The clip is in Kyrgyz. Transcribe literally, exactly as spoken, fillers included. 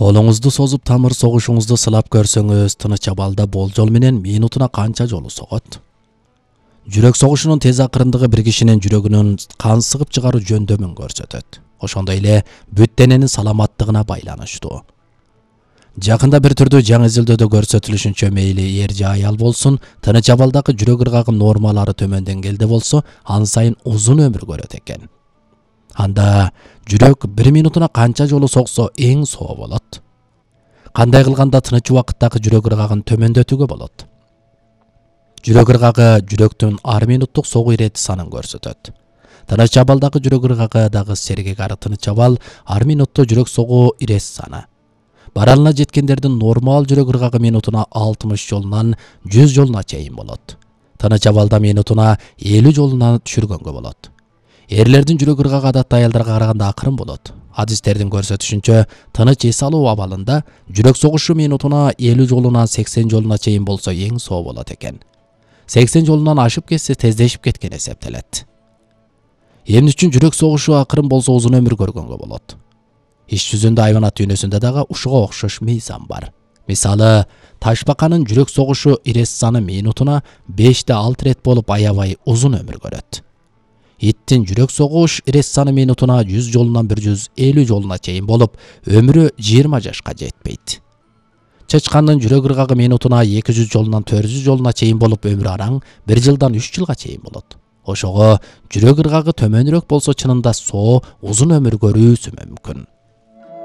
Колуңузду созуп тамыр согушуңузду сылап көрсөңүз, тыныч абалда болжол менен минутуна канча жолу согот? Жүрөк согушунун тез акырындыгы бир кишинин жүрөгүнүн кан сыгып чыгаруу жөндөмүн көрсөтөт. Ошондой эле бүт дененин саламаттыгына байланыштуу. Жакында бир түрдүү жаңы изилдөөдө көрсөтүлүшүнчө мейли эр же аял болсун, тыныч абалдагы жүрөк ыргагы нормалары төмөндөнгенде болсо, ан сайын узун өмүр көрөт экен. Анда жүрөк бир минутуна канча жолу соксо эң соо болот? Кандай кылганда тыныч убакыттагы жүрөк ыргагын төмөндөтүүгө болот? Жүрөк ыргагы жүрөктүн ар минуттук согуу ирети санын көрсөтөт. Тыныч абалдагы жүрөк ыргагы дагы сергек ары тыныч абал ар минутта жүрөк согуу ирет саны. Баралына жеткендердин нормал жүрөк ыргагы минутуна алтымыш жолунан жүз жолуна чейин болот. Тыныч абалда минутуна элүү жолуна түшүргөнгө болот. Эрлердин жүрөк ыргагы адатта аялдарга караганда акырын болот. Адистердин көрсөтүшүнчө, тыныч эс алуу абалында жүрөк согушу минутуна элүү жолунан сексен жолуна чейин болсо эң соо болот экен. сексен жолунан ашып кетсе тездешип кеткен эсептелет. Эмне үчүн жүрөк согушу акырын болсо узун өмүр көргөнгө болот? Иш жүзүндө айванат дүйнөсүндө дагы ушуга окшош мыйзам бар. Мисалы, ташбаканын жүрөк согушу ирет саны минутуна беште алты рет болуп аябай узун өмүр көрөт. Иттин жүрөк согуш ирет саны минутуна жүз жолунан бир жүз элүү жолуна чейин болуп, өмүрү жыйырма жашка жетпейт. Чычкандын жүрөк ыргагы минутуна эки жүз жолунан төрт жүз жолуна чейин болуп, өмүрү араң бир жылдан үч жылга чейин болот. Ошого жүрөк ыргагы төмөнүрөөк болсо чынында соо узун өмүр көрүүсү мүмкүн.